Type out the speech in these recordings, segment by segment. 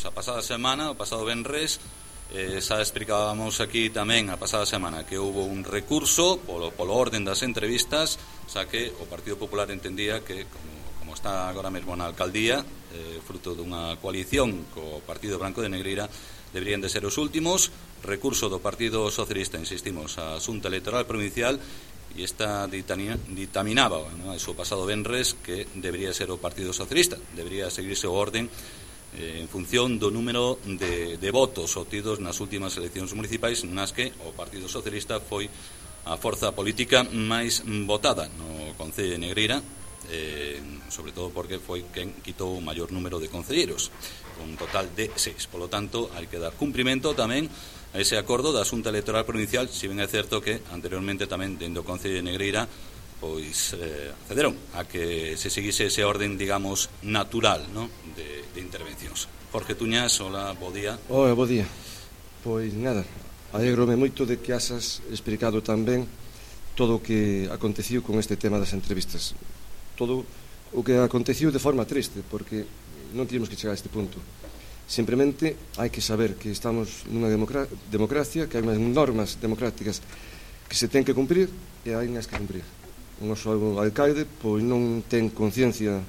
Pois a pasada semana, o pasado venres, xa explicábamos aquí tamén a pasada semana que houve un recurso polo orden das entrevistas, xa que o Partido Popular entendía que como está agora mesmo na alcaldía, fruto dunha coalición co Partido Branco de Negreira, deberían de ser os últimos. Recurso do Partido Socialista, insistimos, a Xunta Electoral Provincial, e esta ditaminaba, no, o pasado venres, que debería ser o Partido Socialista, debería seguirse o orden en función do número de votos obtidos nas últimas eleccións municipais, nas que o Partido Socialista foi a forza política máis votada no Concello de Negreira, sobre todo porque foi quen quitou o maior número de concelleiros, un total de 6. Polo tanto, hai que dar cumprimento tamén a ese acordo da Xunta Electoral Provincial, si ben é certo que anteriormente tamén dentro do Concello de Negreira pois accederon a que se seguise ese orden, digamos, natural, ¿no?, de intervencións. Jorge Tuñas, hola, bo día. Hola, bo día. Pois nada, alegrome moito de que hasas explicado tamén todo o que aconteciu con este tema das entrevistas. Todo o que aconteciu de forma triste, porque non tínhamos que chegar a este punto. Simplemente hai que saber que estamos nunha democracia, que hai unhas normas democráticas que se ten que cumprir e hai unhas que cumprir. O noso alcalde pois non ten conciencia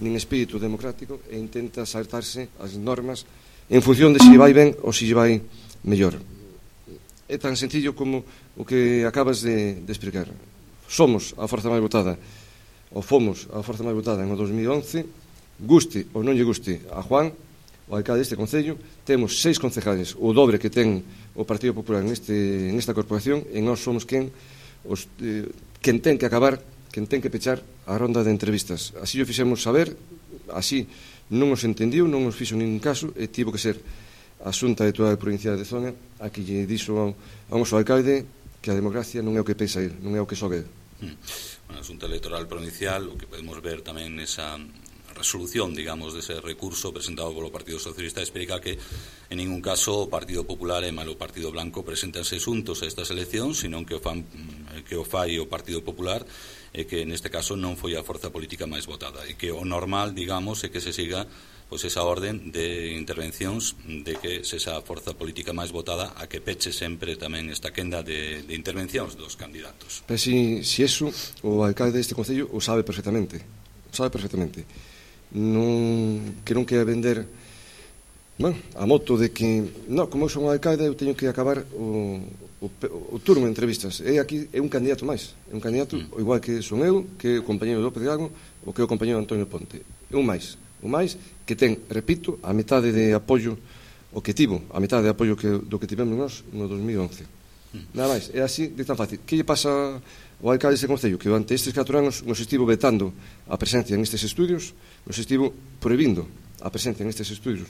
nin espírito democrático e intenta saltarse as normas en función de se vai ben ou se vai mellor. É tan sencillo como o que acabas de explicar. Somos a forza máis votada, ou fomos a forza máis votada en o 2011, guste ou non lle guste a Juan, o alcalde deste concello. Temos 6 concejales, o dobre que ten o Partido Popular nesta corporación, e nós somos quen ten que acabar, quen ten que pechar a ronda de entrevistas. Así o fixemos saber, así non os entendiu, non os fixo ningún caso, e tivo que ser a Xunta Electoral Provincial de Zona a que lle dixo ao noso alcalde que a democracia non é o que pensa ele, non é o que sobe ele. A Xunta Electoral Provincial, o que podemos ver tamén nesa resolución, digamos, dese recurso presentado polo Partido Socialista, explica que en ningún caso o Partido Popular e malo o Partido Blanco presentanse xuntos a estas eleccións, senón que o fai o Partido Popular, e que neste caso non foi a forza política máis votada, e que o normal, digamos, é que se siga pois esa orden de intervencións, de que se esa forza política máis votada a que peche sempre tamén esta quenda de intervencións dos candidatos. Pero si eso o alcalde deste concello o sabe perfectamente, que non quere vender a moto de que como eu son o alcalde eu teño que acabar o turno de entrevistas. Aquí é un candidato máis, é un candidato igual que son eu, que o compañeiro López Gago ou que o compañeiro Antonio Ponte. É un máis que ten, repito, a metade de apoio o que tivo, a metade de apoio do que tivemos nós no 2011. Nada máis, é así de tan fácil. Que lle pasa ao alcalde deste concello? Que durante estes 4 anos nos estivo vetando a presencia en estes estudios, nos estivo prohibindo a presencia en estes estudios,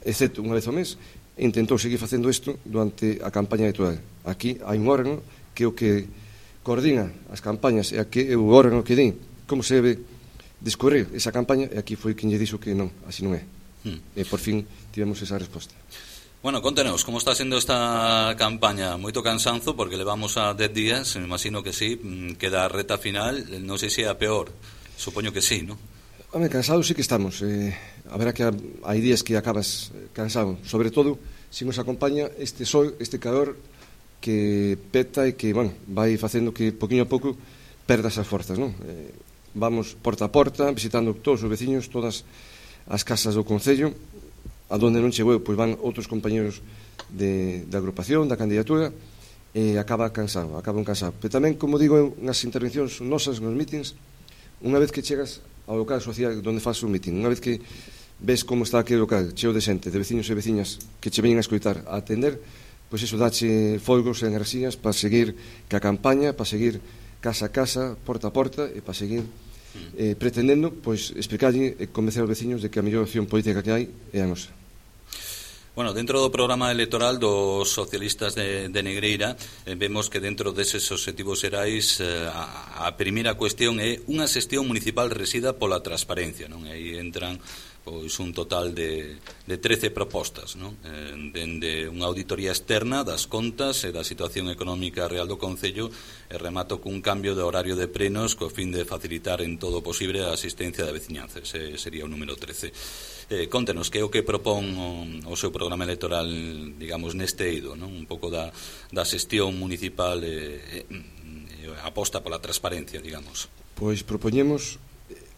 excepto unha vez ao mes, e intentou seguir facendo isto durante a campaña electoral. Aquí hai un órgano que é o que coordina as campañas e que é o órgano que di como se debe discorrer esa campaña, e aquí foi quen lle dixo que non, así non é. E por fin tivemos esa resposta. Bueno, contenos, como está sendo esta campaña? Moito cansanzo, porque levamos a 10 días, me imagino que sí, queda a reta final, non sei se é a peor, supoño que sí, non? Home, cansados sí que estamos, a ver que hai días que acabas cansado, sobre todo se nos acompaña este sol, este calor que peta e que, vai facendo que poquinho a pouco perdas as forzas, non? Vamos porta a porta, visitando todos os veciños, todas as casas do concello, a donde non chegou, pois van outros compañeros da agrupación, da candidatura, e acaba cansado. Pero tamén, como digo, nas intervencións nosas, nos mítings, unha vez que chegas ao local social onde faz un míting, unha vez que ves como está aquele local, cheo de xente, de veciños e veciñas que che veñen a escoitar, a atender, pois iso dache folgos e enerxías para seguir ca campaña, para seguir casa a casa, porta a porta, e para seguir pretendendo pois explicarlle e convencer aos veciños de que a mellor opción política que hai é a nosa. Bueno, dentro do programa electoral dos socialistas de Negreira vemos que dentro deses obxectivos xerais a primeira cuestión é unha xestión municipal resida pola transparencia, non? Aí entran pois un total de 13 propostas, non? Dende unha auditoría externa das contas e da situación económica real do Concello, e remato cun cambio de horario de plenos co fin de facilitar en todo o posible a asistencia da veciñanza. Ese sería o número 13. Contenos que é o que propón o seu programa electoral, digamos, neste eido, non? Un pouco da xestión municipal aposta pola transparencia, digamos. Pois propoñemos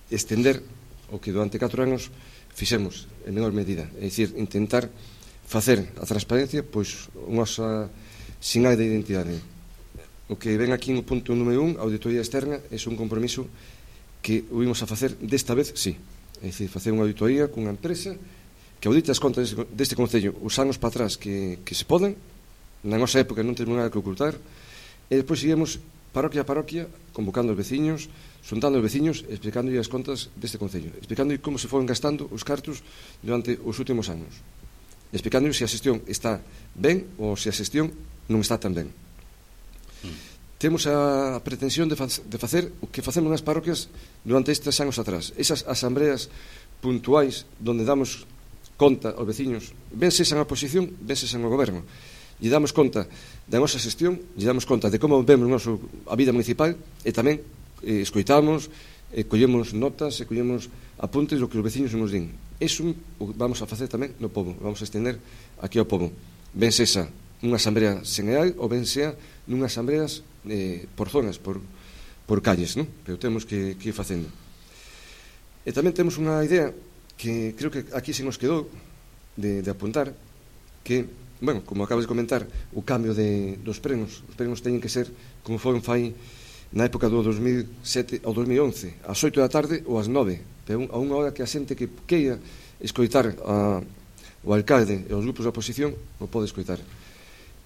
estender o que durante 4 anos fixemos en menor medida, é dicir, intentar facer a transparencia pois unha sinal de identidade. O que ven aquí no punto número 1, a auditoría externa, é un compromiso que o vimos a facer desta vez, sí. É dicir, facer unha auditoría cunha empresa que audite as contas deste Concello os anos para atrás que se poden, na nosa época non temos nada que ocultar, e depois seguimos parroquia a parroquia, convocando os veciños, xuntando os veciños, explicando as contas deste Concello, explicando como se foron gastando os cartos durante os últimos anos, explicando se a xestión está ben ou se a xestión non está tan ben. Temos a pretensión de facer o que facemos nas parroquias durante estes anos atrás, esas asambleas puntuais onde damos conta aos veciños, ben sexan a oposición, ben sexan o goberno, lle damos conta da nosa xestión, lle damos conta de como vemos a vida municipal, e tamén escoitamos, collemos notas e collemos apuntes do que os veciños nos din. Iso vamos a facer tamén no pobo, vamos a estender aquí ao pobo, ben sexa nunha asamblea xeneral ou ben sea nunhas asambleas por zonas, por calles, non? Pero temos que ir facendo. E tamén temos unha idea que creo que aquí se nos quedou de apuntar, que, bueno, como acabas de comentar, o cambio dos prenos, os prenos teñen que ser como foron fai na época do 2007 ao 2011, ás 8 da tarde ou ás 9, pero a unha hora que a xente que queira escoitar o alcalde e os grupos da oposición o pode escoitar.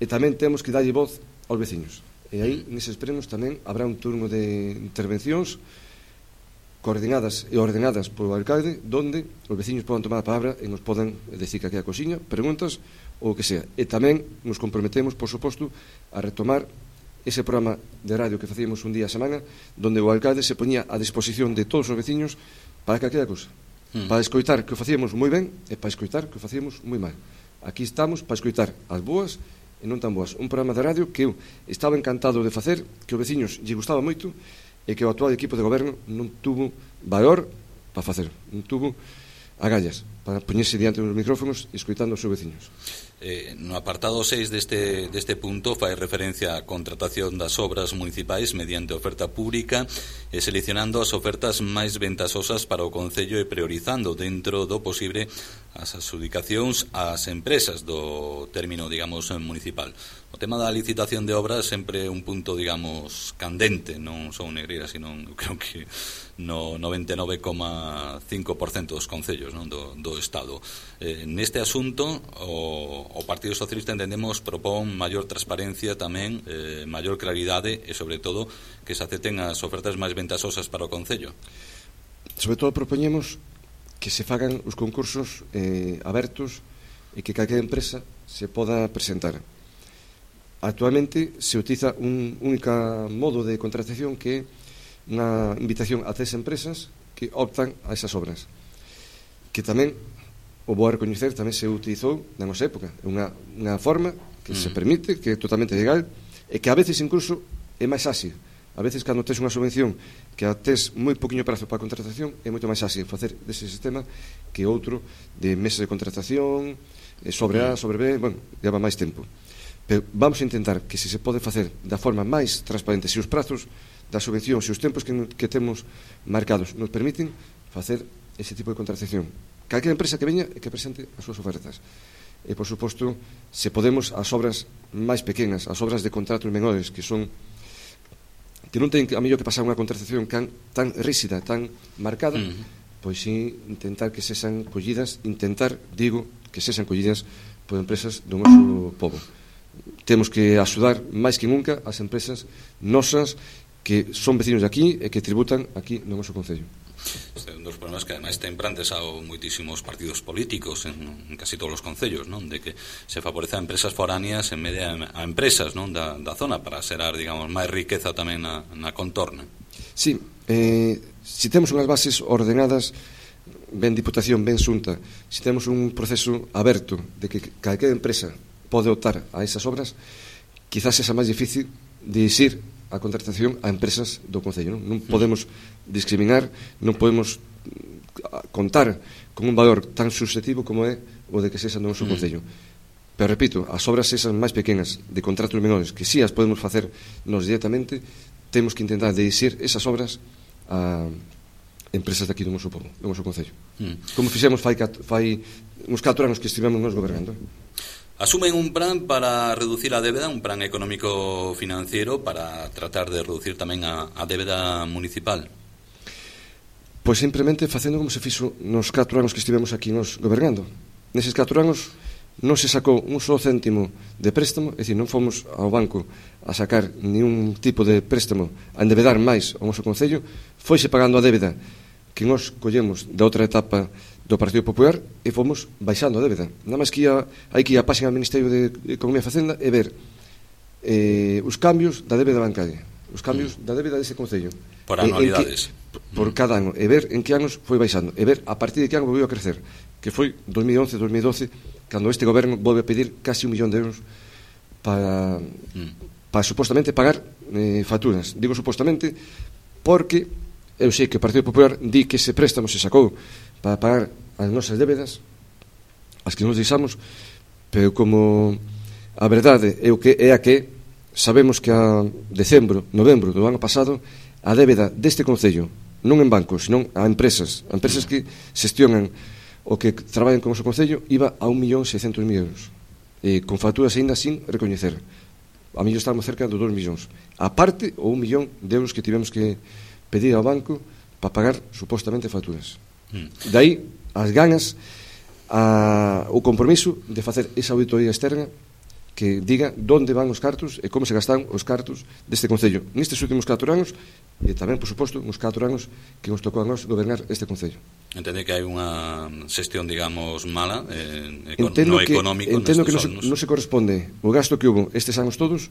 E tamén temos que darlle voz aos veciños, e aí neses prenos tamén habrá un turno de intervencións coordinadas e ordenadas polo alcalde, donde os veciños poden tomar a palabra e nos poden decir que aquí a cociña, preguntas ou o que sea. E tamén nos comprometemos, por suposto, a retomar ese programa de radio que facíamos un día a semana, donde o alcalde se poñía a disposición de todos os veciños para calquera cousa, para escoitar que o facíamos moi ben e para escoitar que o facíamos moi mal. Aquí estamos para escoitar as boas e non tan boas. Un programa de radio que eu estaba encantado de facer, que os veciños lle gustaba moito, e que o actual equipo de goberno non tuvo valor para facer, non tuvo agallas para poñerse diante dos micrófonos e escoitando os seus veciños. No apartado 6 deste punto fai referencia á contratación das obras municipais mediante oferta pública e seleccionando as ofertas máis ventasosas para o Concello e priorizando dentro do posible as adxudicacións ás empresas do término, digamos, municipal. O tema da licitación de obras sempre é un punto, digamos, candente, non só Negreira, sino eu creo que no 99,5% dos concellos, non, do Estado. Neste asunto o Partido Socialista entendemos propón maior transparencia tamén, maior claridade e sobre todo que se acepten as ofertas máis ventasosas para o Concello. Sobre todo propoñemos que se fagan os concursos abertos e que calquera empresa se poda presentar. Actualmente se utiliza un único modo de contratación que é unha invitación a 3 empresas que optan a esas obras, que tamén o vou a recoñecer, tamén se utilizou na nosa época. É unha forma que se permite, que é totalmente legal e que a veces incluso é máis áxil. A veces cando tes unha subvención que a tes moi poquinho prazo para a contratación, é moito máis áxil facer dese sistema que outro de meses de contratación, sobre A, sobre B, bueno, leva máis tempo. Pero vamos a intentar que se pode facer da forma máis transparente, se os prazos da subvención, se os tempos que temos marcados nos permiten facer ese tipo de contratación. Calquera empresa que veña e que presente as súas ofertas. E, por suposto, se podemos, as obras máis pequenas, as obras de contratos menores, que non ten a mellor que pasar unha contratación tan rígida, tan marcada, pois sí, intentar que sexan collidas, que sexan collidas por empresas do noso pobo. Temos que axudar máis que nunca as empresas nosas que son vecinos de aquí e que tributan aquí no noso Concello. Este é un dos problemas que ademais ten plantexado moitísimos partidos políticos en casi todos os concellos, non? De que se favorece a empresas foráneas en medio a empresas, non, da zona para xerar, digamos, máis riqueza tamén na contorna. Sí, se temos unhas bases ordenadas, ben Diputación, ben Xunta, se temos un proceso aberto de que calquera empresa pode optar a esas obras, quizás sexa máis difícil de exir a contratación a empresas do Concello. Non podemos discriminar, non podemos contar con un valor tan subjetivo como é o de que sexa no noso Concello. Pero repito, as obras esas máis pequenas de contratos menores, que si as podemos facer nos directamente, temos que intentar dirixir esas obras a empresas daqui do noso povo, do noso Concello. Como fixemos fai uns 4 anos que estivemos nos gobernando. Asumen un plan para reducir a débeda, un plan económico financiero para tratar de reducir tamén a débeda municipal. Pois simplemente facendo como se fixo nos 4 anos que estivemos aquí nos gobernando. Neses 4 anos non se sacou un só céntimo de préstamo, é dicir, non fomos ao banco a sacar ningún tipo de préstamo a endebedar máis o noso Concello, foise pagando a débeda que nos collemos da outra etapa do Partido Popular e fomos baixando a débeda. Nada máis que hai que ir á página do Ministerio de Economía e Facenda e ver os cambios da débeda bancaria, os cambios da débeda dese Concello. Por anualidades. Por cada ano, e ver en que anos foi baixando, e ver a partir de que ano volveu a crecer, que foi 2011, 2012, cando este goberno volve a pedir casi 1 millón de euros para supostamente pagar facturas. Digo supostamente porque eu sei que o Partido Popular di que ese préstamo se sacou para pagar as nosas débedas, as que nos deixamos, pero como a verdade é a que sabemos que a decembro, novembro do ano pasado, a débeda deste Concello, non en bancos, senón a empresas que xestionan o que traballan con o noso Concello, iba a 1.600.000 euros, con facturas ainda sin recoñecer. A mellor estamos cerca dos 2 millóns. A parte, o 1 millón de euros que tivemos que pedir ao banco para pagar supostamente facturas. Daí as ganas, o compromiso de facer esa auditoría externa que diga onde van os cartos e como se gastan os cartos deste Concello nestes últimos 4 anos e tamén, por suposto, nos 4 anos que nos tocou a nós gobernar este Concello. Entende que hai unha xestión, digamos, mala no económico. Entendo que non se corresponde o gasto que hubo estes anos todos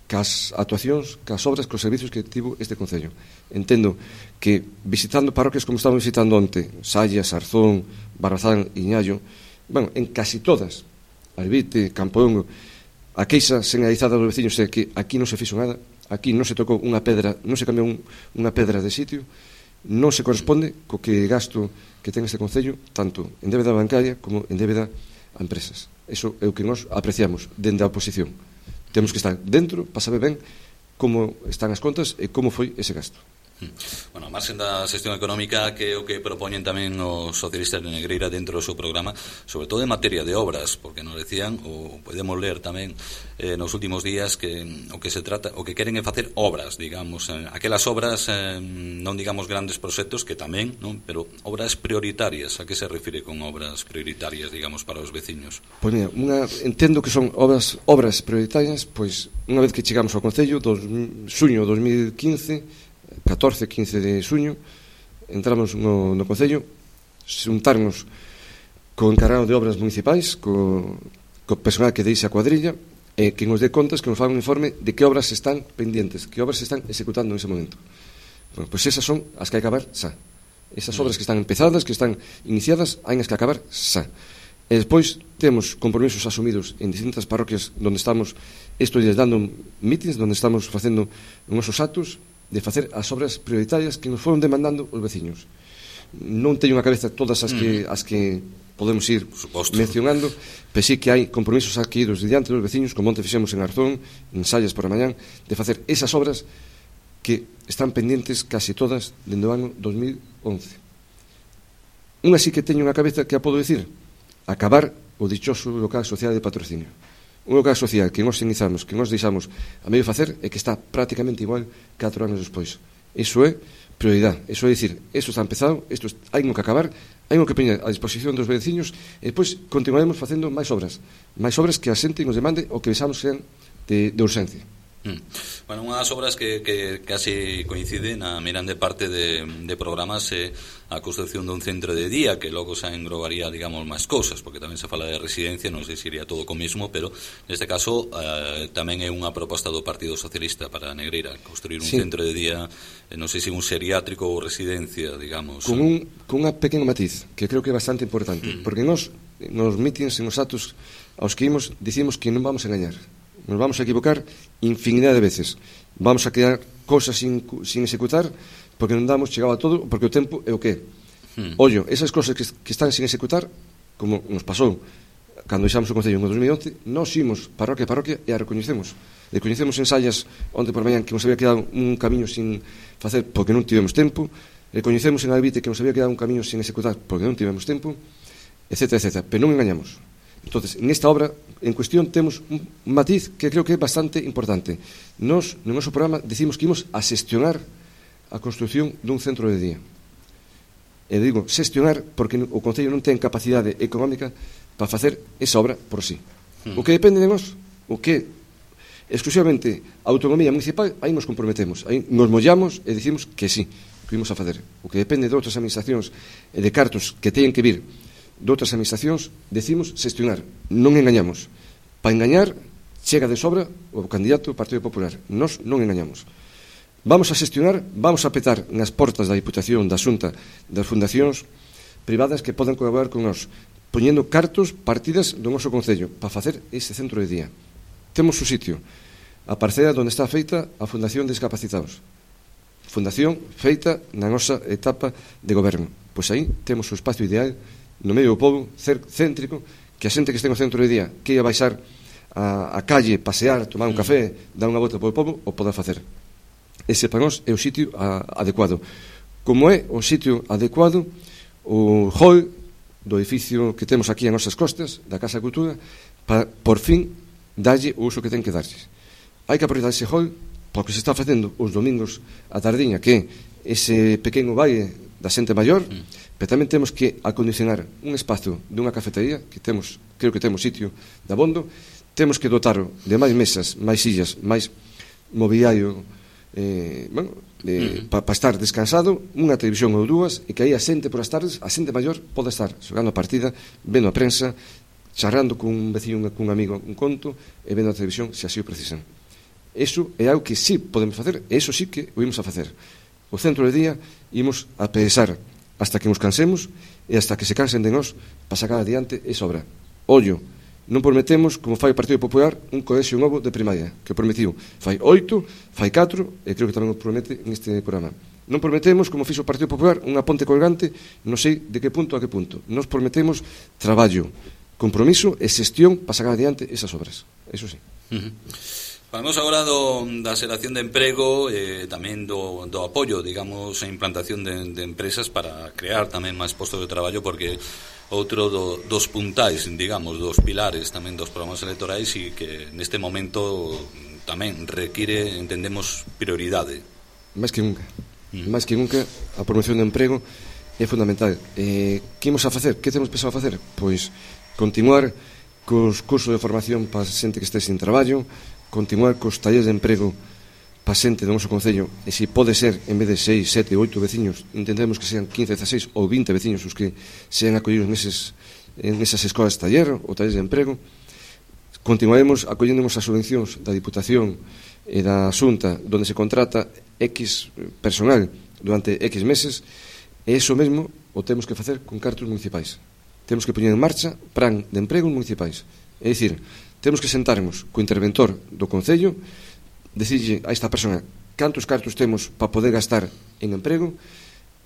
cas actuacións, cas obras, cos servicios que tivo este Concello. Entendo que visitando parroquias como estamos visitando onte, Sallas, Arzón, Barrazán, Iñallo, bueno, en casi todas, Arbite, Campoongo, a queixa señalizada dos veciños é que aquí non se fixo nada, aquí non se tocou unha pedra, non se cambiou unha pedra de sitio, non se corresponde co que gasto que ten este Concello, tanto en débeda bancaria como en débeda a empresas. Eso é o que nós apreciamos dende a oposición. Temos que estar dentro para saber ben como están as contas e como foi ese gasto. Bueno, a marxen da xestión económica, que é o que propoñen tamén os socialistas de Negreira dentro do seu programa, sobre todo en materia de obras, porque nos decían, ou podemos ler tamén nos últimos días, que o que se trata, o que queren é facer obras, digamos, aquelas obras, non digamos grandes proxectos, que tamén, non, pero obras prioritarias. A que se refire con obras prioritarias, digamos, para os veciños? Pois mira, entendo que son obras prioritarias, pois unha vez que chegamos ao Concello, xuño 2015, 14-15 de xuño, entramos no Concello, xuntarnos co encargado de obras municipais, co personal que deixa a cuadrilla, e que nos dé contas, que nos faga un informe de que obras están pendientes, que obras se están executando en ese momento. Bueno, pois esas son as que hai que acabar xa. Esas obras que están empezadas, que están iniciadas, hai as que acabar xa. E despois temos compromisos asumidos en distintas parroquias onde estamos estes días dando mítins, onde estamos facendo os nosos actos de facer as obras prioritarias que nos foron demandando os veciños. Non teño na cabeza todas as que podemos ir mencionando, pero sí que hai compromisos adquiridos diante dos veciños, como onte fixemos en Arzón, en Sallas por a mañán, de facer esas obras que están pendientes casi todas dende o ano 2011. Unha sí que teño na cabeza que a podo dicir, acabar o dichoso local social de patrocinio. Un local social que nos iniciamos, que nos deixamos a medio facer e que está prácticamente igual 4 anos despois. Iso é prioridade. Iso é dicir, isto está empezado, isto hai que acabar, hai que poñer a disposición dos veciños e depois continuaremos facendo máis obras que a xente nos demande ou que pensamos sean de urxencia. Bueno, unha das obras que casi coincide na mirande parte de programas a construcción dun centro de día que logo xa englobaría, digamos, máis cousas, porque tamén se fala de residencia, non sei se iría todo co mesmo, pero neste caso tamén é unha proposta do Partido Socialista para Negreira, construir un centro de día, non sei se un geriátrico ou residencia, digamos. Con unha pequena matiz, que creo que é bastante importante, porque nos mítins e nos atos aos que imos, dicimos que non vamos a engañar. Nos vamos a equivocar infinidade de veces. Vamos a quedar cosas sin executar porque non damos chegado a todo, porque o tempo é o que é. Ollo, esas cosas que están sin executar, como nos pasou cando deixamos o Concello en 2011, nós imos parroquia a parroquia e a recoñecemos. Recoñecemos ensayas onde por mañán que nos había quedado un camiño sin facer porque non tivemos tempo. Recoñecemos en Albite que nos había quedado un camiño sin executar porque non tivemos tempo, etcétera, etcétera. Pero non engañamos. Entonces, en esta obra en cuestión temos un matiz que creo que é bastante importante. Nos, no noso programa, decimos que imos a xestionar a construcción dun centro de día. E digo, xestionar porque o Concello non ten capacidade económica para facer esa obra por sí. O que depende de nós, o que exclusivamente a autonomía municipal, aí nos comprometemos, aí nos mollamos e dicimos que sí, que imos a facer. O que depende de outras administracións e de cartos que teñen que vir de outras administracións, decimos xestionar, non engañamos. Para engañar, chega de sobra o candidato do Partido Popular. Nós non engañamos. Vamos a xestionar, vamos a petar nas portas da Diputación, da Xunta, das fundacións privadas que poden colaborar con nós, poñendo cartos, partidas do noso Concello para facer ese centro de día. Temos o sitio, a parcela onde está feita a Fundación de Discapacitados. Fundación feita na nosa etapa de goberno. Pois aí temos o espacio ideal no medio do povo, céntrico, que a xente que este no centro de día que ia baixar a calle, pasear, tomar un café, dar unha volta polo povo, o poda facer. Ese para nós é o sitio adecuado. Como é o sitio adecuado o hall do edificio que temos aquí a nosas costas, da Casa Cultura, para, por fin, darlle o uso que ten que darlle. Hai que aproveitar ese hall porque se está facendo os domingos a tardiña, que é ese pequeno baile da xente maior, pero tamén temos que acondicionar un espazo dunha cafetería, que temos, creo que temos sitio de abondo, temos que dotarlo de máis mesas, máis sillas, máis mobiliario, para estar descansado, unha televisión ou dúas, e que aí a xente por as tardes, a xente maior pode estar xogando a partida, vendo a prensa, charrando con un veciño, cun amigo un conto, e vendo a televisión se así o precisan. Eso é algo que sí podemos facer, e eso sí que o imos a facer. O centro de día imos a pensar hasta que nos cansemos e hasta que se cansen de nós para sacar adiante esa obra. Ollo, non prometemos, como fai o Partido Popular, un colexio novo de primaria, que prometiu fai 8, fai 4, e creo que tamén o promete neste programa. Non prometemos, como fixo o Partido Popular, unha ponte colgante, non sei de que punto a que punto. Nos prometemos traballo, compromiso e xestión para sacar adiante esas obras. Eso sí. Falamos agora da xeración de emprego e tamén do apoio, digamos, a implantación de empresas para crear tamén máis postos de traballo, porque outro dos puntais, digamos, dos pilares tamén dos programas electorais e que neste momento tamén require, entendemos, prioridade. Máis que nunca. Máis que nunca a promoción de emprego é fundamental. Que imos a facer? Que temos pensado a facer? Pois continuar cos cursos de formación para a xente que este sin traballo, continuar cos talleres de emprego para xente do noso Concello, e se pode ser, en vez de 6, 7, 8 veciños, intentemos que sean 15, 16 ou 20 veciños os que sean acollidos en esas escolas de taller ou talleres de emprego. Continuaremos acollendemos as subvencións da Diputación e da Xunta, onde se contrata X personal durante X meses, e iso mesmo o temos que facer con cartos municipais. Temos que poñer en marcha plan de emprego municipais. É dicir, temos que sentarnos co interventor do Concello, decirlle a esta persona cantos cartos temos para poder gastar en emprego,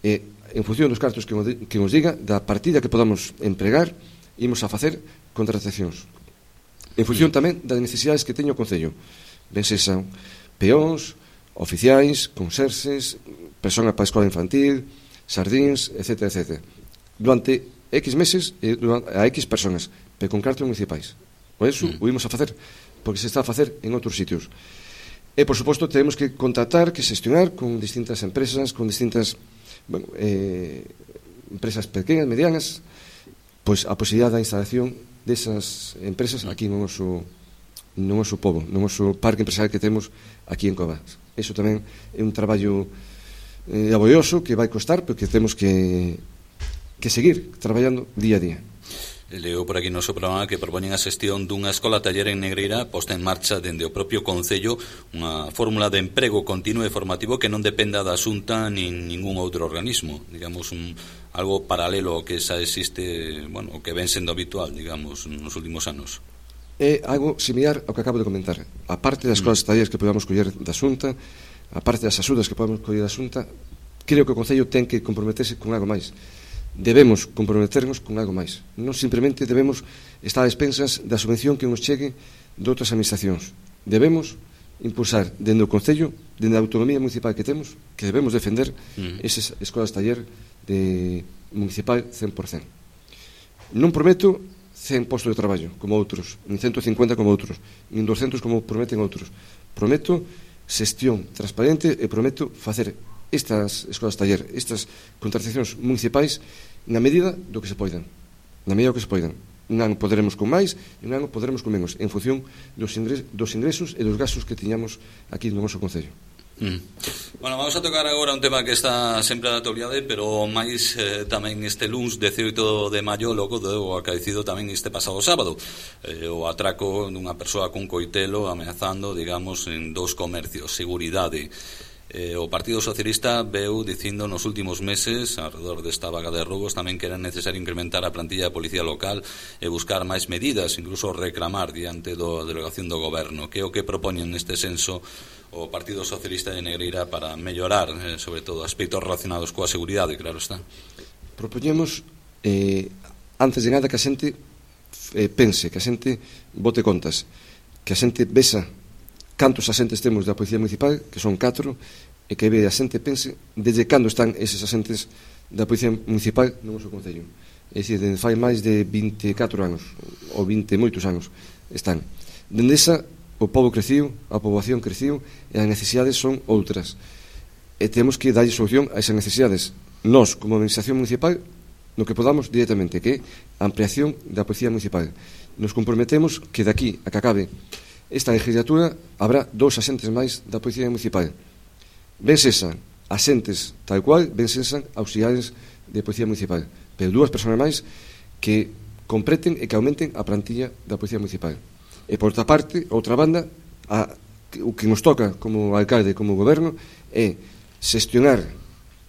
e en función dos cartos que nos diga, da partida que podamos empregar, imos a facer contratacións. En función tamén das necesidades que teño o Concello. Ben sexan peóns, oficiais, conserxes, persona para a escola infantil, sardíns, etc. etc. Durante X meses a X personas, pero con cartos municipais. O eso o imos a facer, porque se está a facer en outros sitios. E, por suposto, temos que contratar, que xestionar con distintas empresas, con distintas empresas pequenas, medianas, pois a posibilidade da instalación desas empresas aquí no noso no noso pobo, no noso parque empresarial que temos aquí en Covas. Iso tamén é un traballo laborioso que vai costar, pero que temos que seguir traballando día a día. Leo por aquí no seu programa que propoñen a xestión dunha escola taller en Negreira posta en marcha dende o propio Concello unha fórmula de emprego continuo e formativo que non dependa da Xunta nin ningún outro organismo, digamos algo paralelo ao que xa existe, bueno, o que ven sendo habitual, digamos, nos últimos anos. É algo similar ao que acabo de comentar. A parte das escolas talleres que podamos coller da Xunta, a parte das axudas que podamos coller da Xunta, creo que o Concello ten que comprometerse con algo máis. Debemos comprometernos con algo máis. Non simplemente debemos estar a expensas da subvención que nos chegue de outras administracións. Debemos impulsar dende o Concello, dende a autonomía municipal que temos, que debemos defender esas escolas taller de municipal 100%. Non prometo 100 postos de traballo como outros, nin 150 como outros, nin 200 como prometen outros. Prometo xestión transparente e prometo facer estas escolas taller, estas contratacións municipais na medida do que se poidan. Na medida do que se poidan. Un ano poderemos con máis e un ano poderemos con menos en función dos ingresos e dos gastos que tiñamos aquí no noso Concello. Bueno, vamos a tocar agora un tema que está sempre na actualidade, pero máis tamén este luns 18 de maio, logo do acaecido tamén este pasado sábado, o atraco dunha persoa cun coitelo ameazando, digamos, en dous comercios, seguridade. O Partido Socialista veu dicindo nos últimos meses alrededor desta vaga de roubos tamén que era necesario incrementar a plantilla de policía local e buscar máis medidas, incluso reclamar diante da delegación do goberno. Que é o que propoñen neste senso o Partido Socialista de Negreira para mellorar, sobre todo, aspectos relacionados coa seguridade, claro está? Propoñemos, antes de nada, que a xente pense, que a xente bote contas, que a xente vesa cantos asentes temos da Policía Municipal, que son 4, e que a xente pense desde cando están eses asentes da Policía Municipal no noso Concello. É dicir, fai máis de 24 anos, ou 20 moitos anos están. Dende esa, o pobo creciu, a poboación creciu, e as necesidades son outras. E temos que darlle solución a esas necesidades. Nós, como Administración Municipal, no que podamos directamente, que é a ampliación da Policía Municipal. Nos comprometemos que daqui a que acabe esta legislatura habrá 2 asentes máis da Policía Municipal. Ben sesan asentes tal cual, ben sesan auxiliares de Policía Municipal, pero 2 persoas máis que completen e que aumenten a plantilla da Policía Municipal. E por outra parte, outra banda, o que nos toca como alcalde, como goberno, é xestionar,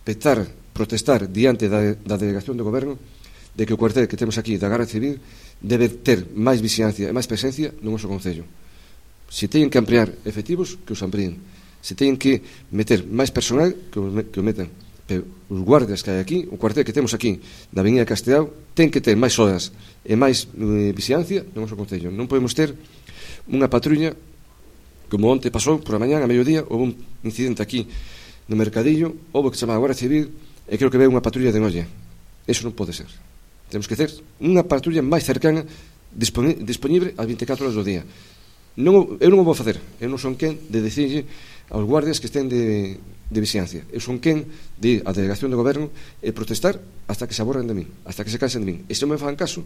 petar, protestar diante da delegación do goberno de que o cuartel que temos aquí da Garda Civil debe ter máis vigilancia e máis presencia no noso Concello. Se teñen que ampliar efectivos, que os amplíen. Se teñen que meter máis personal, que o metan. Pero os guardias que hai aquí, o cuartel que temos aquí da Avenida Castellao, ten que ter máis horas e máis vigilancia no noso Concello. Non podemos ter unha patrulla, como onte pasou, por a mañán, a mediodía, houve un incidente aquí no Mercadillo, houve que chamar a Guardia Civil, e creo que veu unha patrulla de noia. Eso non pode ser. Temos que ter unha patrulla máis cercana, disponible a 24 horas do día. Eu non o vou facer. Eu non son quen de dicirlle aos guardias que estén de vigilancia. Eu son quen de ir á delegación do goberno e protestar hasta que se aborren de min, hasta que se cansen de min. E se non me fan caso,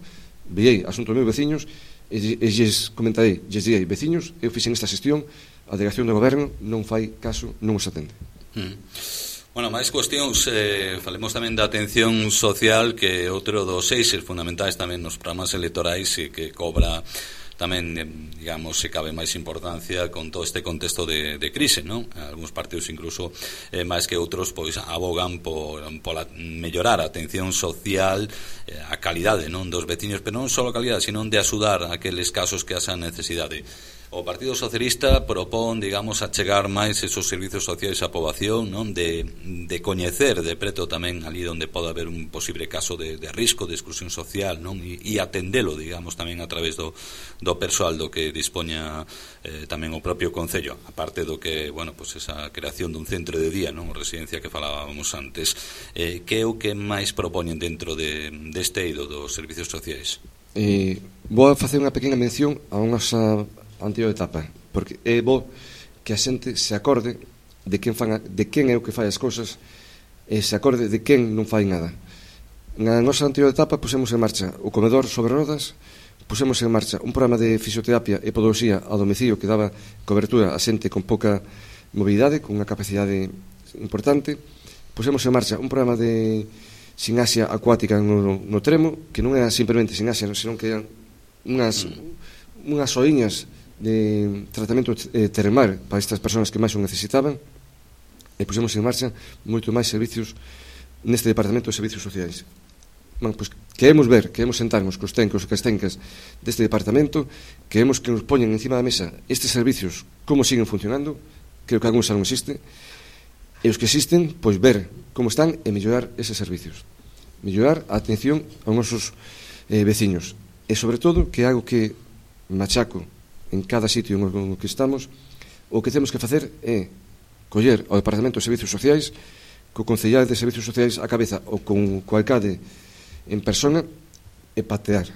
veei asunto dos meus veciños e lles comentarei, lles direi, veciños, eu fixen esta xestión, a delegación do goberno non fai caso, non os atende. Bueno, máis cuestións, falemos tamén da atención social, que é outro dos eixes fundamentais tamén nos programas electorais e que cobra tamén, digamos, se cabe máis importancia con todo este contexto de crise, non? Algúns partidos incluso máis que outros pois abogan por mellorar a atención social, a calidade, non, dos veciños, pero non só a calidade, sino de axudar a aqueles casos que hasan necesidade. O Partido Socialista propón, digamos, achegar máis esos servizos sociais á poboación, non? De coñecer de preto tamén ali onde pode haber un posible caso de risco de exclusión social, non? E atendelo, digamos, tamén a través do persoal do que dispoña tamén o propio Concello, aparte do que, bueno, pues esa creación dun centro de día, non? Residencia que falábamos antes. Que é o que máis propoñen dentro deste eido dos servizos sociais? Vou facer unha pequena mención a nosa anterior etapa, porque é bo que a xente se acorde de quen é o que fai as cousas e se acorde de quen non fai nada. Na nosa anterior etapa pusemos en marcha o comedor sobre rodas pusemos en marcha un programa de fisioterapia e podoloxía a domicilio que daba cobertura a xente con pouca mobilidade, con unha capacidade importante. Pusemos en marcha un programa de ximnasia acuática no Tremo, que non era simplemente ximnasia, senón que eran unhas oiñas de tratamento termal para estas persoas que máis o necesitaban, e pusemos en marcha moito máis servicios neste departamento de servicios sociais. Pois queremos sentarnos cos técnicos e cas técnicas deste departamento, queremos que nos poñen encima da mesa estes servicios, como siguen funcionando, creo que algúns xa non existe, e os que existen, pois ver como están e mellorar eses servicios, mellorar a atención aos nosos veciños, e sobre todo, que é algo que machaco en cada sitio no que estamos, o que temos que facer é coller ao Departamento de Servicios Sociais, co Concellar de Servicios Sociais á cabeza ou con o alcalde en persona, e patear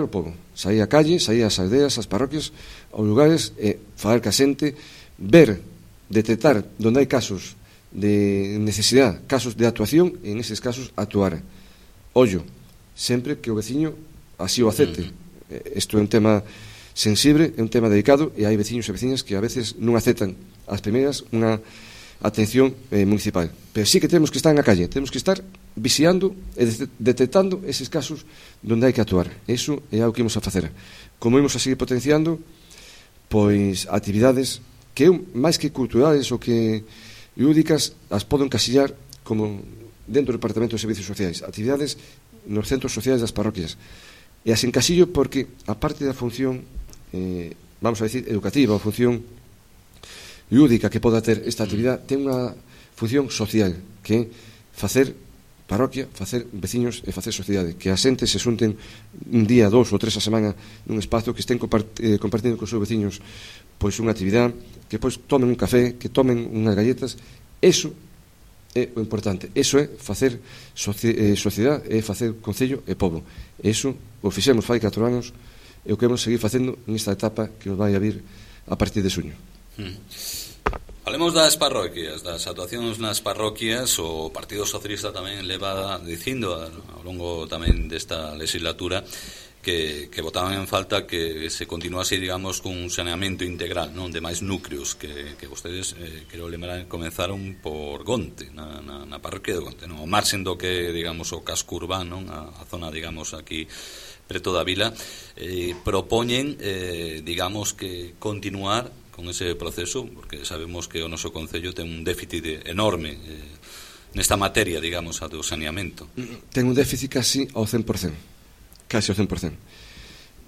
o povo, sair á calle, sair ás aldeas, ás parroquias, aos lugares, e falar ca xente, ver, detectar onde hai casos de necesidade, casos de actuación, e en eses casos actuar. Ollo, sempre que o veciño así o acepte. Isto é un tema sensible, é un tema delicado, e hai veciños e veciñas que a veces non aceptan as primeiras unha atención municipal. Pero sí que temos que estar na calle, temos que estar vixiando e detectando eses casos onde hai que actuar. Eso é algo que imos a facer. Como imos a seguir potenciando, pois actividades que máis que culturales ou que lúdicas as podo encasillar como dentro do Departamento de Servicios Sociais, actividades nos centros sociais das parroquias. E as encasillo porque, a parte da función, vamos a decir, educativa, ou función lúdica que poda ter esta actividade, ten unha función social, que é facer parroquia, facer veciños e facer sociedade, que a xente se xunten un día, 2 ou 3 a semana nun espazo, que estén compartindo con os seus veciños pois unha actividade, que pois tomen un café, que tomen unhas galletas. Eso é o importante, eso é facer sociedade, é facer concello e pobo. Eso o fixemos fai 4 anos e o que vamos seguir facendo nesta etapa que nos vai a vir a partir de xuño. Falemos das parroquias, das actuacións nas parroquias. O Partido Socialista tamén leva dicindo ao longo tamén desta legislatura que votaban en falta que se continuase, digamos, cun saneamento integral, non, de máis núcleos que vostedes, quero lembrar, comenzaron por Gonte, na parroquia de Gonte, non? O marxen do que, digamos, o casco urbano, a zona, digamos, aquí preto da vila, propoñen, digamos, que continuar con ese proceso, porque sabemos que o noso concello ten un déficit enorme nesta materia, digamos, a do saneamento. Ten un déficit casi ao 100%. Casi ao 100%.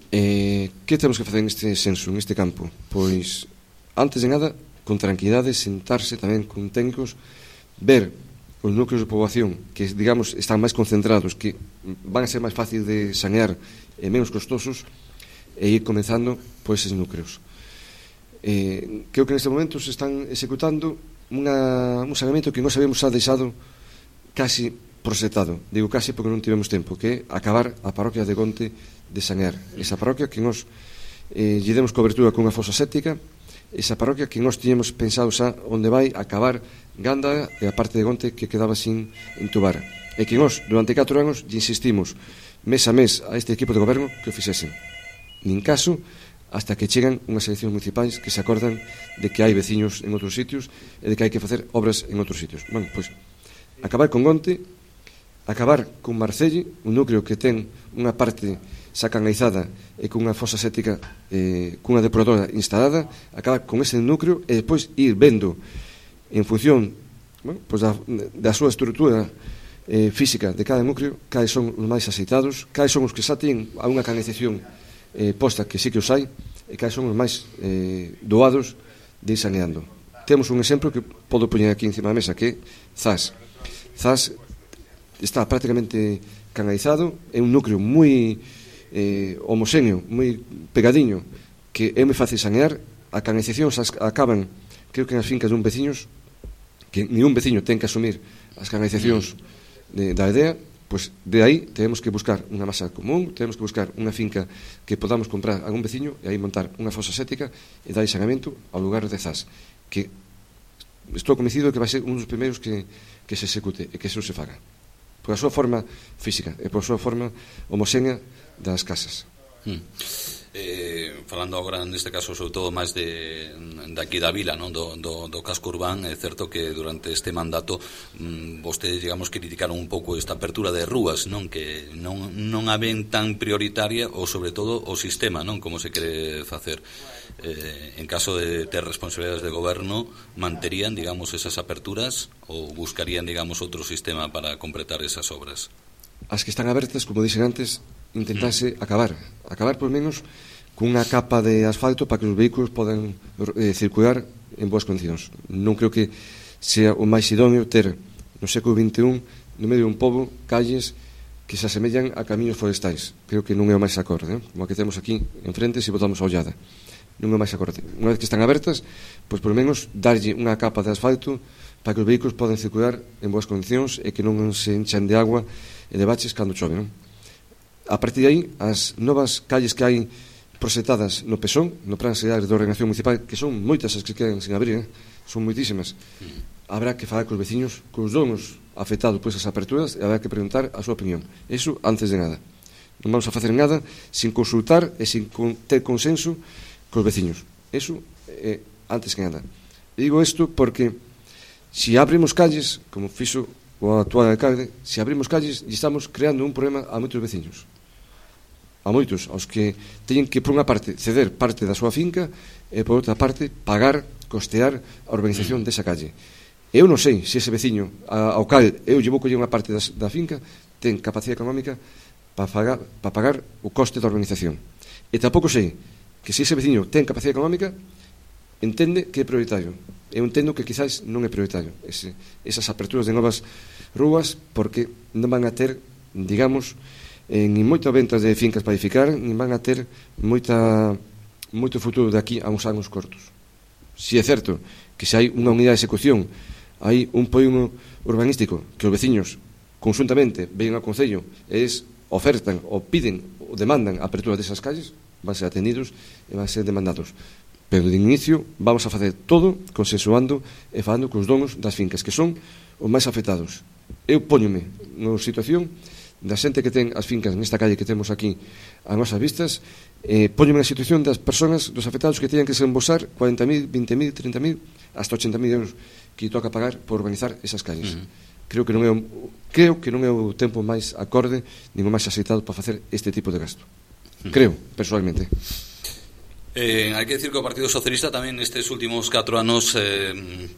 Que temos que facer neste senso, neste campo? Pois, antes de nada, con tranquilidade, sentarse tamén con técnicos, ver os núcleos de poboación que, digamos, están máis concentrados, que van a ser máis fácil de sanear e menos costosos, e ir comenzando por eses núcleos. Creo que neste momento se están executando un saneamento que nós habíamos xa deixado casi proxectado. Digo casi porque non tivemos tempo, que é acabar a parroquia de Gonte de sanear. Esa parroquia que nós lle demos cobertura cunha fosa séptica, esa parroquia que nós tiñemos pensado xa onde vai acabar Ganda e a parte de Gonte que quedaba sin entubar. E que nós, durante 4 anos, lle insistimos mes a mes a este equipo de goberno que o fixesen. Nin caso, hasta que chegan unhas eleccións municipais que se acordan de que hai veciños en outros sitios e de que hai que facer obras en outros sitios. Bueno, pois, acabar con Gonte, acabar con Marcelle, un núcleo que ten unha parte xa canalizada e cunha fosa séptica, cunha depuradora instalada, acabar con ese núcleo e depois ir vendo en función, bueno, pois da súa estrutura física de cada núcleo, cales son os máis aceitados, cales son os que xa ten a unha canalización posta, que sí que os hai, e cales son os máis doados de ir saneando. Temos un exemplo que podo poñer aquí encima da mesa, que é Zas. Zas está prácticamente canalizado, é un núcleo moi homoxéneo, moi pegadiño, que é moi fácil sanear. A canalización acaban, creo que nas fincas dun veciños, que ningún veciño ten que asumir as canalizacións da aldea. Pois de aí temos que buscar unha masa común, temos que buscar unha finca que podamos comprar a algún veciño e aí montar unha fosa séptica e dar saneamento ao lugar de Zas, que estou convencido que vai ser un dos primeiros que se execute e que eso se faga, por a súa forma física e por a súa forma homoxénea das casas. Falando agora neste caso sobre todo máis de aquí da vila, non? Do casco urbán, é certo que durante este mandato vostedes, digamos, criticaron un pouco esta apertura de rúas, non? Que non a ven tan prioritaria, ou sobre todo o sistema, non? Como se quere facer. En caso de ter responsabilidades de goberno, manterían, digamos, esas aperturas ou buscarían, digamos, outro sistema para completar esas obras? As que están abertas, como dixen antes, intentarse acabar por menos cunha capa de asfalto para que os vehículos podan circular en boas condicións. Non creo que sea o máis idóneo ter no século XXI no medio dun pobo calles que se asemellan a camiños forestais. Creo que non é o máis acorde, como a que temos aquí enfrente se botamos a ollada. Non é o máis acorde. Unha vez que están abertas, pois por menos darlle unha capa de asfalto para que os vehículos podan circular en boas condicións e que non se enchan de agua e de baches cando chove, non? A partir de aí, as novas calles que hai prosetadas no Pesón, no Plan Xeral de Ordenación Municipal, que son moitas as que quedan sin abrir, son moitísimas, habrá que falar cos veciños, cos donos afectados por esas aperturas, e habrá que preguntar a súa opinión. Eso antes de nada. Non vamos a facer nada sin consultar e sin ter consenso cos veciños. Eso antes que nada. E digo isto porque se abrimos calles, como fixo o actual alcalde, se abrimos calles e estamos creando un problema a moitos veciños, a moitos, aos que teñen que, por unha parte, ceder parte da súa finca e, por outra parte, pagar, costear a urbanización desa calle. Eu non sei se ese veciño ao cal eu llevo coller unha parte da finca ten capacidade económica para pagar o coste da urbanización. E tampouco sei que se ese veciño ten capacidade económica entende que é prioritario. Eu entendo que quizás non é prioritario esas aperturas de novas rúas, porque non van a ter, digamos, nin moitas ventas de fincas para edificar, nin van a ter moito futuro de aquí a uns anos cortos. Si é certo que se hai unha unidade de execución, hai un polígono urbanístico que os veciños conjuntamente ven ao Concello e ofertan ou piden ou demandan a apertura desas calles, van ser atendidos e van ser demandados. Pero de inicio vamos a facer todo consensuando e falando cos donos das fincas, que son os máis afectados. Eu póñome na situación da xente que ten as fincas nesta calle que temos aquí a nosas vistas, póñome na situación das personas, dos afectados que teñan que desembolsar 40.000, 20.000, 30.000, hasta 80.000 euros que toca pagar por urbanizar esas calles. Creo que non é o tempo máis acorde nin o máis aceitado para facer este tipo de gasto. Creo, personalmente. Hai que decir que o Partido Socialista tamén nestes últimos 4 anos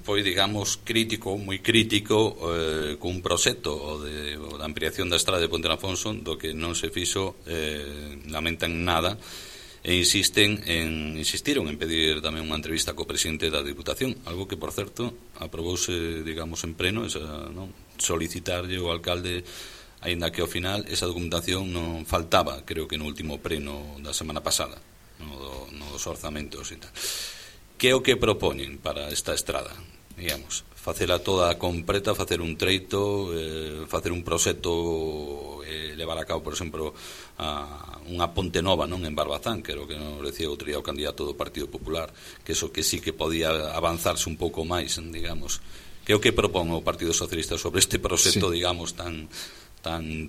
foi, digamos, moi crítico cun proxecto da ampliación da estrada de Ponte Afonso, do que non se fixo lamentan nada e insistiron en pedir tamén unha entrevista co presidente da Diputación, algo que, por certo, aprobouse, digamos, en pleno, solicitarlle ao alcalde, aínda que ao final esa documentación non faltaba, creo que no último pleno da semana pasada, nos orzamentos e tal. Que é o que propoñen para esta estrada? Digamos, facela toda completa, facer un treito, facer un proxecto, levar a cabo, por exemplo, unha ponte nova, non, en Barbazán, que era o que nos decía outro día o candidato do Partido Popular, que eso que sí que podía avanzarse un pouco máis, digamos. Que é o que propón o Partido Socialista sobre este proxecto, digamos, tan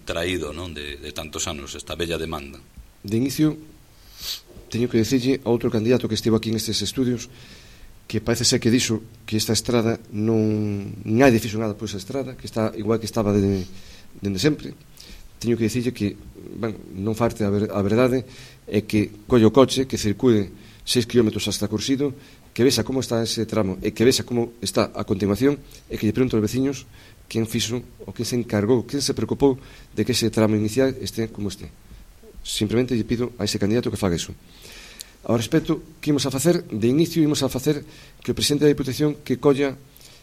traído, non, de tantos anos, esta bella demanda? De inicio, teño que dicirlle a outro candidato que estivo aquí nestes estudios que parece ser que dixo que esta estrada non hai difícil nada por esa estrada, que está igual que estaba dende sempre. Teño que dicirlle que non farte a verdade é que colle o coche, que circule 6 km hasta Cursido, que vexa como está ese tramo e que vexa como está a continuación e que lle pregunto aos veciños quen fixo ou quen se encargou, quen se preocupou de que ese tramo inicial este como este. Simplemente lle pido a ese candidato que faga iso. Ao respecto, que imos a facer? De inicio imos a facer que o presidente da Diputación que colla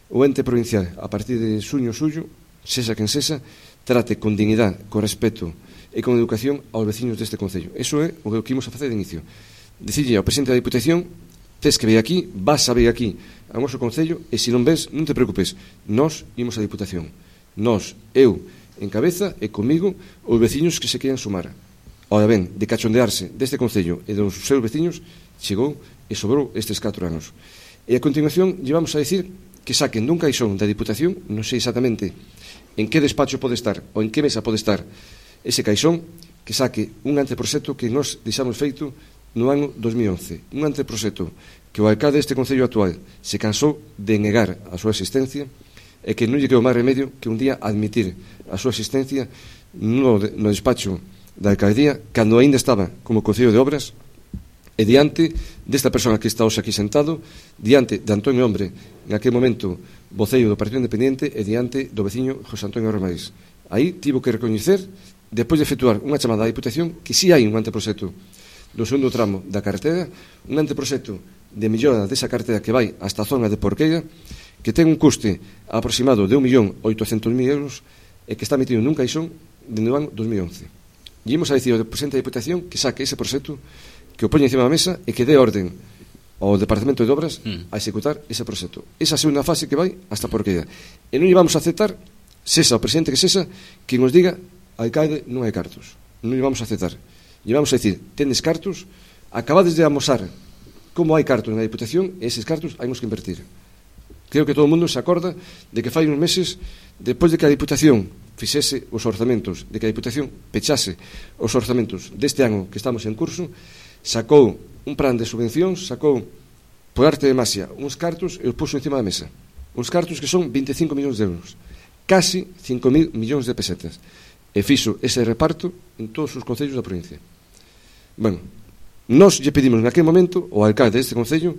o ente provincial a partir de xuño suyo, sexa quen sexa, trate con dignidade, con respeto e con educación aos veciños deste Concello. Eso é o que imos a facer de inicio. Dicirlle ao presidente da Diputación: tes que vir aquí, vas a vir aquí ao noso Concello, e se non ves, non te preocupes, nós imos a Diputación. Nós, eu, en cabeza e comigo, os veciños que se queiran sumar. Ora ben, de cachondearse deste Concello e dos seus veciños, chegou e sobrou estes 4 anos. E a continuación llevamos a decir que saquen dun caixón da Diputación, non sei exactamente en que despacho pode estar ou en que mesa pode estar ese caixón, que saque un anteproxecto que nos deixamos feito no ano 2011. Un anteproxecto que o alcalde deste concello actual se cansou de negar a súa existencia e que non lle quedou máis remedio que un día admitir a súa existencia no despacho da alcaldía cando aínda estaba como Concello de Obras e diante desta persona que está hoxe aquí sentado, diante de Antonio Hombre, en aquel momento voceiro do Partido Independiente, e diante do veciño José Antonio Romais. Aí tivo que recoñecer, despois de efectuar unha chamada á Diputación, que si hai un anteproxecto do segundo tramo da carretera, un anteproxecto de mellora desa carretera que vai hasta a zona de Porqueira, que ten un custe aproximado de 1.800.000 euros e que está metido nun caixón dende o ano 2011. E imos a dicir ao presidente da Diputación que saque ese proxecto, que o poña encima da mesa e que dé orden ao Departamento de Obras a executar ese proxecto. Esa segunda fase que vai hasta Porqueira. E non lle vamos a aceptar, sesa o presidente que sesa, que nos diga alcalde non hai cartos. Non lle vamos a aceptar. Lle vamos a dicir, tendes cartos, acabades de amosar como hai cartos na Diputación e eses cartos haimos que invertir. Creo que todo o mundo se acorda de que fai uns meses, despois de que a Diputación fixese os orzamentos, de que a Diputación pechase os orzamentos deste ano que estamos en curso, sacou un plan de subvencións, sacou por arte de masia uns cartos e os puxo encima da mesa. Uns cartos que son 25 millóns de euros, casi 5.000 millóns de pesetas, e fixo ese reparto en todos os concellos da provincia. Bueno, nós lle pedimos naquele momento ao alcalde deste concello,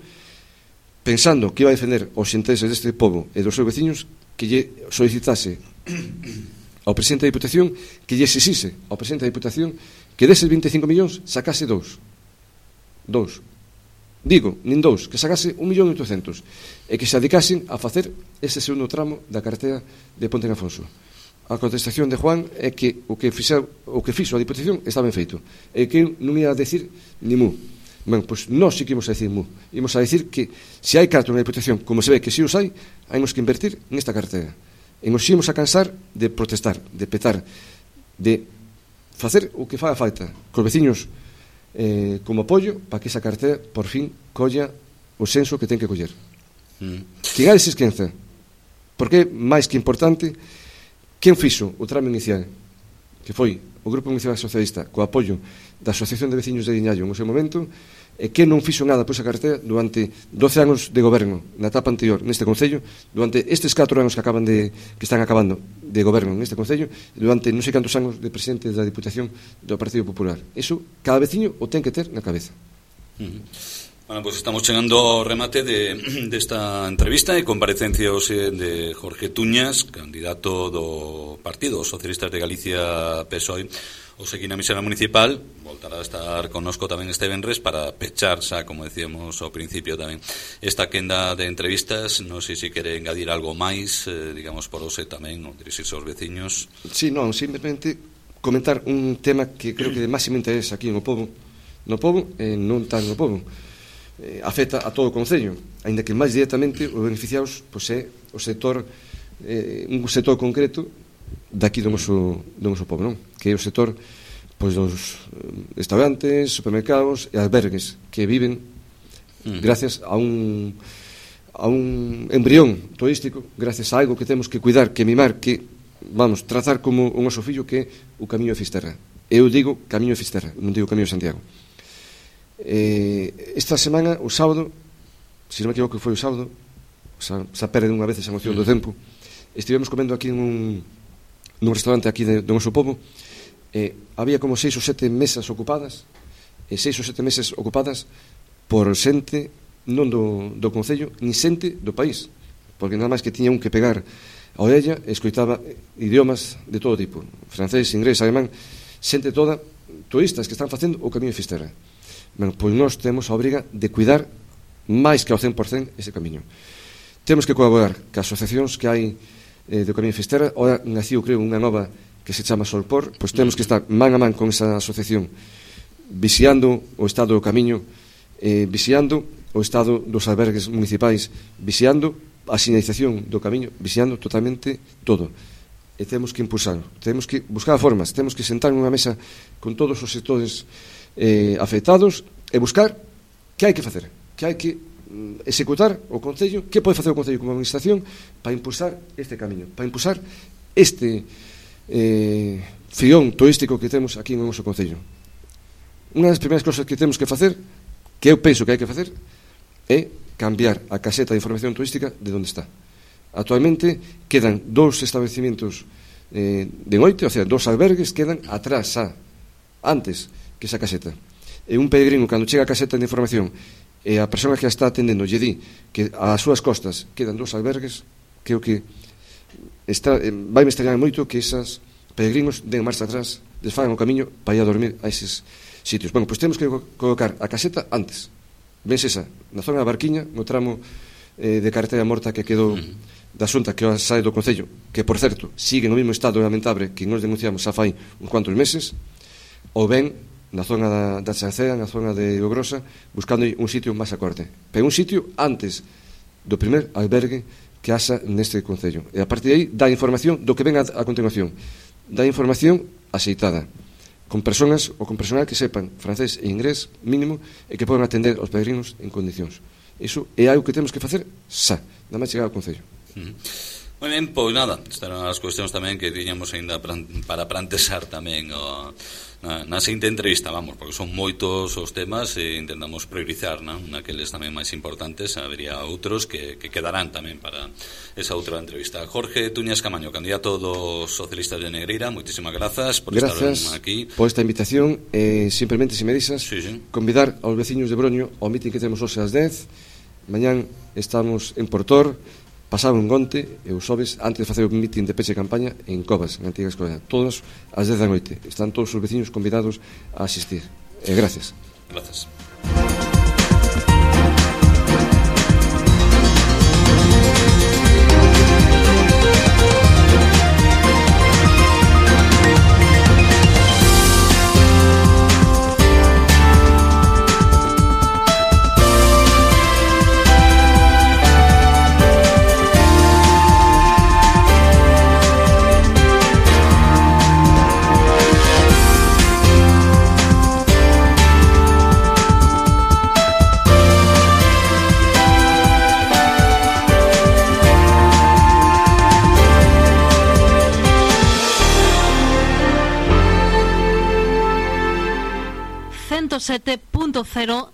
pensando que iba a defender os intereses deste povo e dos seus veciños, que lle solicitase ao presidente da Diputación, que lle exixise ao presidente da Diputación que deses 25 millóns sacase dous. Digo, nin dous, que sacase 1.800.000 e que se dedicasen a facer ese segundo tramo da carretera de Ponte en Afonso. A contestación de Juan é que o que fixo a Diputación está ben feito e que non ia a decir ni mu. Ben, pois nós sí que imos a decir mu. Imos a decir que se hai cartos na Diputación, como se ve que si os hai, haimos que invertir nesta carretera. E nos ímos a cansar de protestar, de petar, de facer o que faga falta cos veciños como apoio para que esa carretera por fin colla o senso que ten que coller. Que gade se esquenza, porque máis que importante, quen fixo o tramo inicial, que foi o Grupo Municipal Socialista co apoio da Asociación de Veciños de Guiñallo no seu momento, e que non fixo nada por esa carretera durante 12 anos de goberno na etapa anterior neste concello, durante estes 4 anos que están acabando de goberno neste concello, durante non sei cantos anos de presidente da Diputación do Partido Popular. Iso cada veciño o ten que ter na cabeza. Bueno, pues estamos chegando ao remate desta entrevista e comparecencia hoxe de Jorge Tuñas, candidato do Partido Socialistas de Galicia PSOE, hoxe aquí na Misera Municipal. Voltará a estar connosco tamén este venres para pechar, xa, como decíamos ao principio tamén, esta quenda de entrevistas. Non sei se quere engadir algo máis, digamos, por hoxe tamén, ou dirixirse aos veciños. Sí, non, simplemente comentar un tema que creo que de máximo interés aquí no povo e non tan no povo. Afecta a todo o concello, aínda que máis directamente os beneficiados pois é o sector, un sector concreto daqui do noso povo, non? Que é o sector pois dos restaurantes, supermercados e albergues que viven gracias a un embrión turístico, gracias a algo que temos que cuidar, que mimar, que vamos tratar como o noso fillo, que é o Camiño de Fisterra. Eu digo Camiño de Fisterra, non digo Camiño de Santiago. Esta semana, o sábado, se non me equivoco, foi o sábado, xa perde unha vez esa noción do tempo, estivemos comendo aquí nun restaurante aquí do noso povo. Había como 6 ou 7 mesas ocupadas, e 6 ou 7 mesas ocupadas por xente non do concello, nin xente do país, porque nada máis que tiña un que pegar a orella e escoitaba idiomas de todo tipo, francés, inglés, alemán, xente toda, turistas que están facendo o Camiño de Fisterra. Ben, pois nós temos a obriga de cuidar máis que ao 100% ese camiño. Temos que colaborar cas asociacións que hai do Camiño de Fisterra. Ora naciu, creo, unha nova que se chama Solpor. Pois temos que estar man a man con esa asociación, vixiando o estado do camiño, vixiando o estado dos albergues municipais, vixiando a sinalización do camiño, vixiando totalmente todo. E temos que impulsarlo, temos que buscar formas, temos que sentar nunha mesa con todos os sectores afectados e buscar que hai que facer, que hai que executar o Concello, que pode facer o Concello como administración para impulsar este camiño, para impulsar esta fión turístico que temos aquí no noso concello. Unha das primeiras cosas que temos que facer, que eu penso que hai que facer, é cambiar a caseta de información turística de onde está. Actualmente quedan 2 establecimentos de noite, o sea, 2 albergues quedan atrás antes que esa caseta. E un peregrino, cando chega a caseta de información e a persona que a está atendendo lle di que ás súas costas quedan 2 albergues, creo que vai me extrañar moito que esas peregrinos den marcha atrás, desfagan o camiño para ir a dormir a eses sitios. Bueno, pois temos que colocar a caseta antes. Vense esa, na zona da Barquiña, no tramo de carretera morta que quedou da Xunta que sae do Concello, que, por certo, sigue no mesmo estado lamentable que nos denunciamos xa fai uns cuantos meses, ou ben na zona da Chancea, na zona de Ogrosa, buscando un sitio máis acorde. Pero un sitio antes do primer albergue que haxa neste Concello. E a partir de aí dá información do que ven a continuación. Dá información axeitada, con personas ou con personal que sepan francés e inglés mínimo e que poden atender aos peregrinos en condicións. Iso é algo que temos que facer xa, nada máis chegar ao Concello. Moi ben, pois nada, estarán as cuestións tamén que tiñamos ainda para plantexar tamén na seguinte entrevista, vamos, porque son moitos os temas e intentamos priorizar, naqueles tamén máis importantes. Habería outros que quedarán tamén para esa outra entrevista. Jorge Tuñas Camaño, candidato dos socialistas de Negreira, moitísimas grazas por estar aquí. Gracias por esta invitación. Simplemente, se me deixas, convidar aos veciños de Broño ao mitin que temos hoxe ás 10. Mañán estamos en Portor, pasado en Gonte e os xoves antes de facer o mitin de peche de campaña en Covas, na antiga escola. Todos ás 10 da noite. Están todos os veciños convidados a asistir. Gracias. Gracias.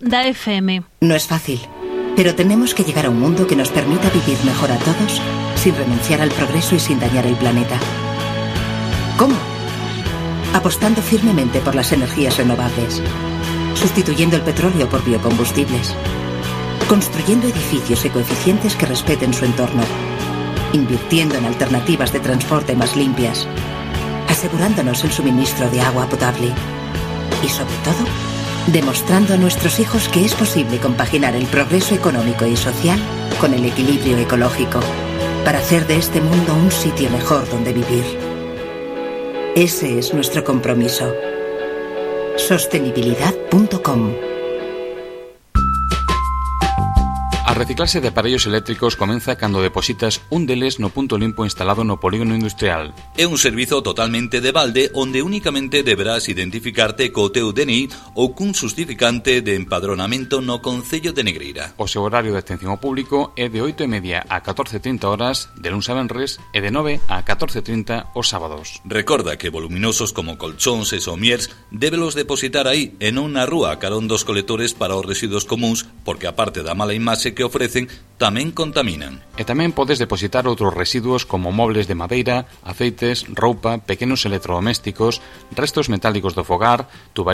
Da FM. No es fácil, pero tenemos que llegar a un mundo que nos permita vivir mejor a todos, sin renunciar al progreso y sin dañar el planeta. ¿Cómo? Apostando firmemente por las energías renovables, sustituyendo el petróleo por biocombustibles, construyendo edificios ecoeficientes que respeten su entorno, invirtiendo en alternativas de transporte más limpias, asegurándonos el suministro de agua potable y, sobre todo, demostrando a nuestros hijos que es posible compaginar el progreso económico y social con el equilibrio ecológico para hacer de este mundo un sitio mejor donde vivir. Ese es nuestro compromiso. Sostenibilidad.com. A reciclase de aparellos eléctricos comeza cando depositas un deles no punto limpo instalado no polígono industrial. É un servizo totalmente de balde onde únicamente deberás identificarte co teu DNI ou cun justificante de empadronamento no Concello de Negreira. O seu horario de atención ao público é de 8:30 a 14:30 horas de luns a venres e de 9 a 14:30 os sábados. Recorda que voluminosos como colchóns e somiers débelos depositar aí e non na rúa carón dos colectores para os residuos comuns, porque aparte da mala imaxe que ofrecen, tamén contaminan. E tamén podes depositar outros residuos como mobles de madeira, aceites, roupa, pequenos electrodomésticos, restos metálicos do fogar,